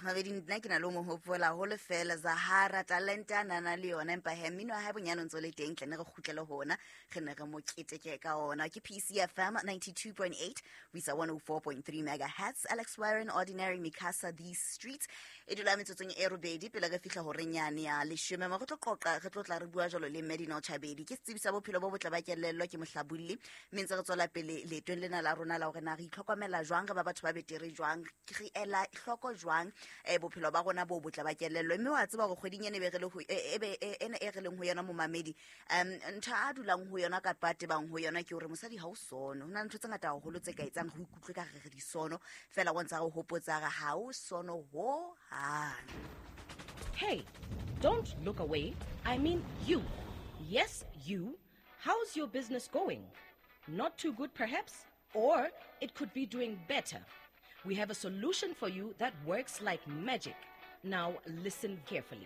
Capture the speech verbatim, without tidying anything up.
Mabedi, nna ke na le ho mo hopola haholo fela Zahara, talente a nana le yona, empa he mmino wa hae bonyane o ntso le teng. Tle ne re kgutlele ho ona, re ne re mo keteke ka ona. Ke P C F M ninety-two point eight ho isa one oh four point three megahertz. Alex Warren, Ordinary, Mikasa, These Streets. E dula metsotsong e robedi pele re fihla horeng yane ya leshome, mo re tlo qoqa, re tlo tla re bua jwalo le Medinal Chabedi, ke setsebi sa bophelo bo botle ba kelello, ke mohlabolli. Mme ntse re tswela pele leetong lena la rona la hore na re itlhokomela jwang, re ba batho ba betere jwang, re ela hloko jwang um bophelo ba rona bo botle ba kelello. Mme wa tseba hore kgweding ene be re le ho- e- e be- e- ena e re leng ho yona, momamedi, um ntho a dulang ho yona kapa a tebang ho yona ke hore mosadi ha o sono. Ho na le ntho tse ngata haholo tse ka etsang re ikutlwe ka re re disono, fela o ntsa re hopotsa re ha o sono ho hang. Hey, don't look away. I mean you. Yes, you. How's your business going? Not too good, perhaps? Or it could be doing better. We have a solution for you that works like magic. Now, listen carefully.